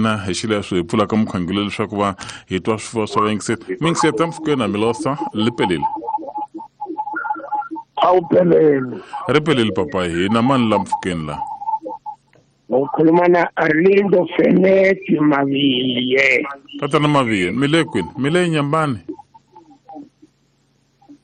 hina hi xileswo hi pfulaka mukhangelo leswaku va hi twa swifuwo swa vayingiseri. Miyingiseri ta mpfhukeni Milosa li pelile. A wu peleli. Ri pelile papa hina mani la mpfhukeni la. Ukhuluma na Arlindo Feneti Maviye. Tatana Maviye, mi le kwini? Mi le Nyambani?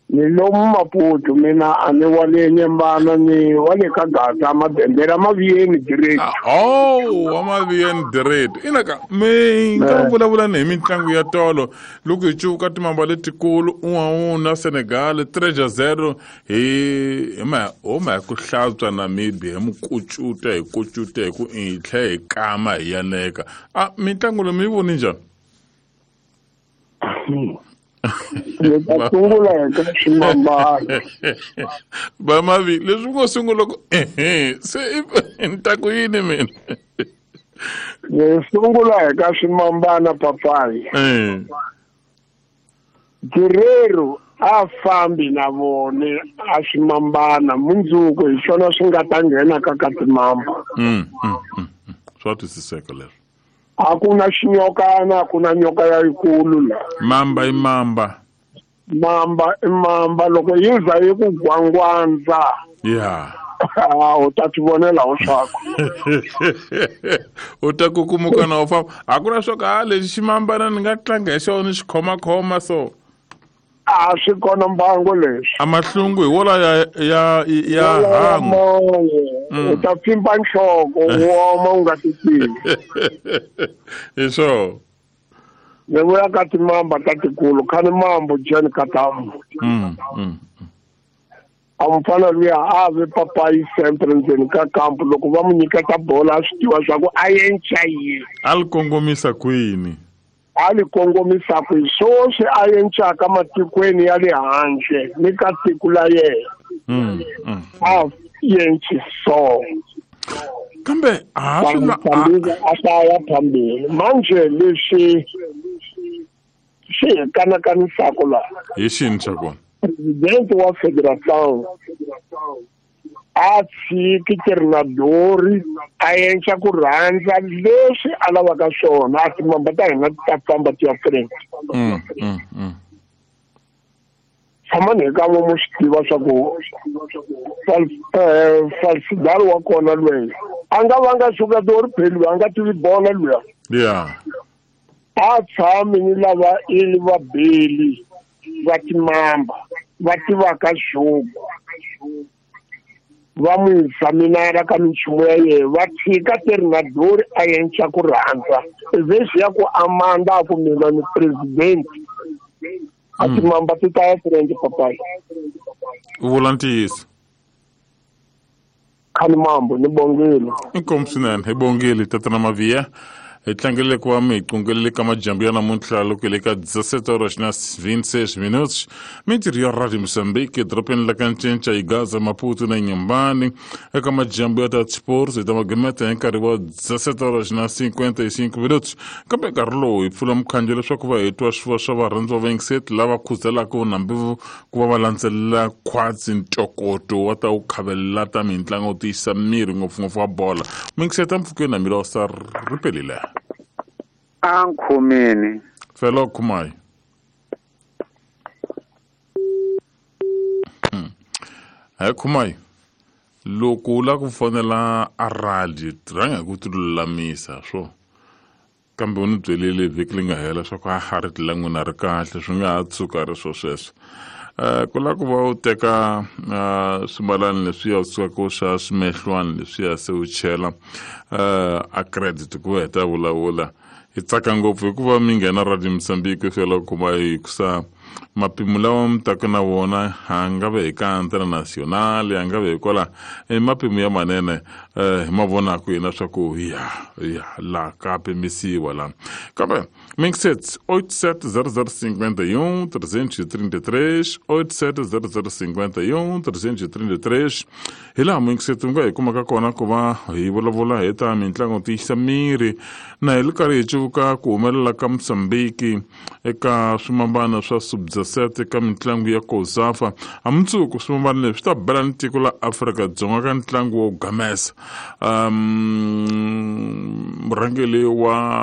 Ni lomu Maputo, mina a ni wa le Nyambana, ni wa le ka Gaza, Mabembela, Maviyeni direct. Oh, wa Maviyeni direct. Ina ka mi nga vulavula ni hi mitlangu ya tolo loko hi cuvuka timamba letikulu un'wana Senegal 3-0 hi ma huma hi ku hlantswa Namibia hi mukucuta hi kucuta hi ku hi tlhe hi kama hi yaneka. A mitlangu leyi mi yi voni njhani? Ni ta sungula hi ka ximambana. Bamavi, leswi ngo sungula ku ehe, se ni ta ku yini mina? Ni sungula hi ka ximambana papayi. Guerrero a fambi na vone a ximambana mundzuku hi swona swi nga ta nghena ka ka timamba. Swa twisiseka leswo. A ku na xinyokana, a ku na nyoka ya yikulu la. Mamba i mamba. Mamba i mamba, loko yi za yi ku gwangwandza. U ta ti vonela ho swaku. U ta kukumuka na u famba. A ku na swo ka lexi ximambana ni nga tlanga hi xona xi khomakhoma so. A swi kona mbango leswi. A mahlungu hi wola ya hangu. U ta pfimba nhloko, u oma u nga ti tivi. Hi swona. Ni vuya ka timamba ta tikulu, khani mambo Jen Katamu. A mufana luya a ve papayi sempre ndzeni ka kampu loko va mu nyiketa bola a swi tiva swa ku a yenca yini. A li kongomisa kwini? A li kongomisa kwini? Swoswi a yencaka matikweni ya le handle ni ka tiko la yena. A yenci so. Kambe a swi na a hlaya phambili. Manje leswi swi hi kanakanisaka laha. Hi xini xa kona? Presidente wa Federação a tshiki Ternadori a endla ku rhandza leswi a lavaka swona, a timamba ta hina ti ta famba ti ya front. Tshamani hi kan'we mo swi tiva swa ku Falsidal wa kona lweyi a nga vanga jogador phela a nga tivi bola luya. A tshami ni lava i va beli va timamba va tivaka jogo va n'wi examinara ka minchumu ya yena va tshika Ternadori a endla ku rhandza vhesi ya ku amanda a ku mina ni president a timamba ti ta ya friend papayi. U vula ntiyiso. Khani mambo ni bongile. Inkomu swinene hi bongile tatana Maviya. Hi tlangele ku va mi hi qungelele ka majambu ya namuntlha loko hi le ka 17:26 minutos. Mintirho ya Radio Mozambique edorobeni la ka Ncinca hi Gaza, Maputo na Inhambane. Eka majambu ya ta sports hi ta magimeta hi nkarhi wa 17:55 minutos. Kambe nkarhi lowu hi pfula mukhanjo leswaku va hi twa swifuwo swa varhandzi va vayingiseti lava khuzelaka nambi ku va va landzelela khwatsi ntokoto wa ta wu khavelela ta mitlangu wo tiyisa miri ngopfungopfu wa bola. Muyingiseti a mpfhukeni na Milosa ri pelile. A nkhumini. Felo Khumai. Hi Khumai, loko u lava ku fonela a radio rhanga hi ku ti lulamisa swo. Kambe u ni byelile vhiki leyi nga hela swa ku a ha ri la n'wina ri kahle swi nga ha tshuka ri swo sweswo. Ku lava ku va u teka swimalani leswiya u sukaka u xa swimehlwani leswiya se u chela a credit ku heta vulavula. Hi tsaka ngopfu hikuva mi nghena Radio Mozambique fela kuma hi kusa mapimo lawa mi taka na wona a nga ve hi ka Antena Nacional a nga ve hi kwala i mapimo ya manene hi ma vonaka yena swa ku ya la ka pimisiwa la. Kambe Mixet 870051 333 870051 333 hi laha Mixet u nga hi kumaka kona ku va hi vulavula hi ta mitlangu tiyisa miri na hi ri karhi hi cuvuka ku humelela ka Mozambique eka swimambana swa sub-17 eka mitlangu ya COSAFA. A mundzuku swimambana leswi swi ta bela ni tiko la Afrika-Dzonga ka ntlangu wo gamesa. Murhangeri wa